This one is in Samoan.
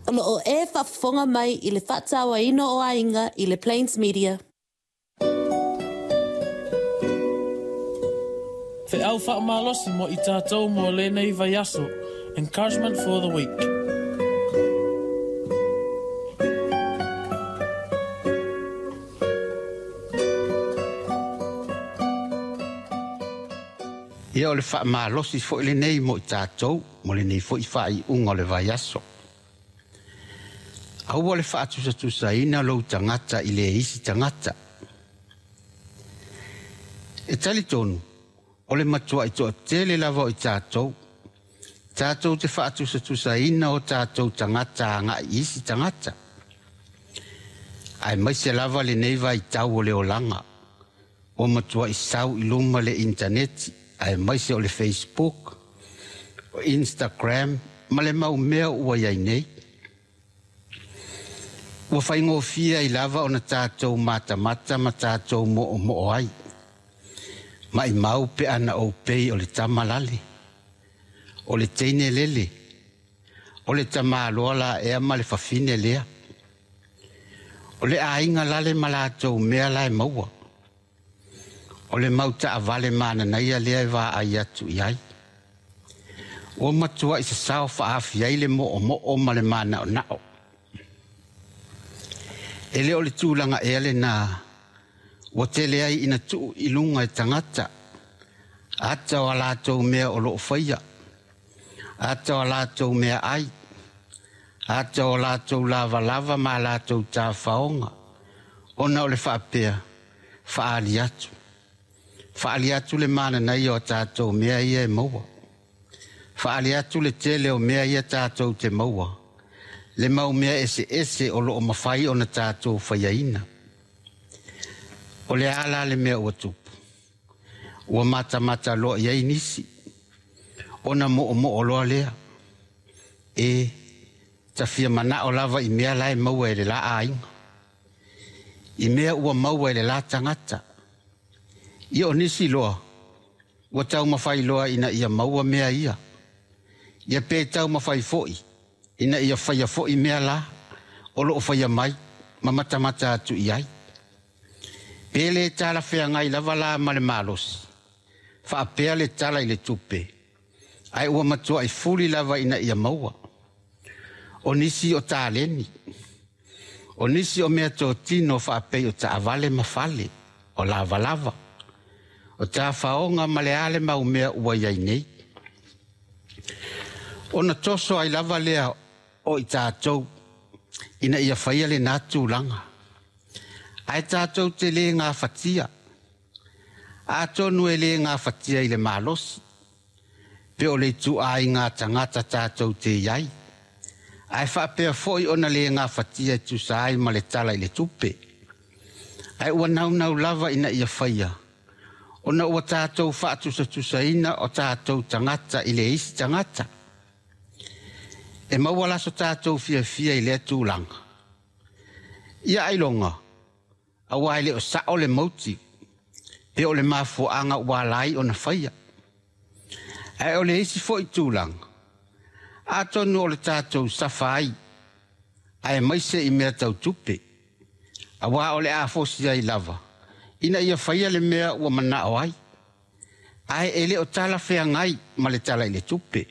O lo o e faafofoga mai i le faatauaina o aiga i le Plains Media. Feau faamalosi mo i tatou mo lenei vaiaso. Encouragement for the week. Ia o le faamalosi foi lenei mo i tatou mo lenei foi faaiuga o le vaiaso. Aua le faatusatusaina lou tagata i le isi tagata. E talitonu, o le matuai toatele lava o i tatou, tatou te faatusatusaina o tatou tagata agai i isi tagata. Aemaise lava lenei vaitau o le olaga, ua matuai sau i luma le initaneti, aemaise o le Facebook, o Instagram ma le mau mea ua i ai nei. Ua faigofie ai lava ona tatou matamata ma tatou moomoo ai. Maimau pe ana ou pei o le tama lale, o le teine lele, o le tamaloa la ea ma le fafine lea. O le aiga lale ma latou mea la e maua. O le mau taavale mananaia lea e vaai atu i ai. Ua matuai sasao faaafi ai le moomoo ma le manaonao. E le o le tulaga ea lenā ua tele ai ina tuu i luga e tagata, ata o a latou mea o lo o faia, ata o a latou meaai, ata o latou lavalava ma a latou tafaoga, ona o le faapea, faaali atu. Faaali atu le mananaia o a tatou mea ia e maua. Faaali atu le tele o mea ia tatou te maua, le mau mea eseese o lo o mafai ona tatou faiaina. O le a la le mea ua tupu? Ua matamata loa i ai nisi, ona moomoo loa lea. E, ta fia manao lava i mea la e maua e le la aiga, i mea ua maua e le la tagata. Ia o nisi loa, ua taumafai loa ina ia maua mea ia. Ia pe taumafai foi ina ia faia foi mea la o lo o faia mai ma matamata atu i ai. Pe le talafeagai lava la ma le malosi, faapea le tala i le tupe, ae ua matuai fuli lava ina ia maua. O nisi o taleni, o nisi o mea totino faapei o taavale ma fale, o lavalava, o tafaoga ma le a le mau mea ua i ai nei. Ona toso ai lava lea o i tatou ina ia faia lenā tulaga. Ae tatou te le gafatia. Atonu e le gafatia i le malosi, pe o le ituaiga tagata tatou te i ai, ae faapea foi ona le gafatia e tusa ai ma le tala i le tupe. Ae ua naunau lava ina ia faia, ona ua tatou faatusatusaina o tatou tagata i le isi tagata. E maua la so tatou fiafia i lea tulaga. Ia ailoga, aua e le o sao le mauti, pe o le mafuaaga ua ala ai ona faia. Ae o le isi foi tulaga, atonu o le tatou safa ai, aemaise i mea tau tupe, aua o le a fosi ai lava, ina ia faia le mea ua manao ai, ae e le o talafeagai ma le tala i le tupe.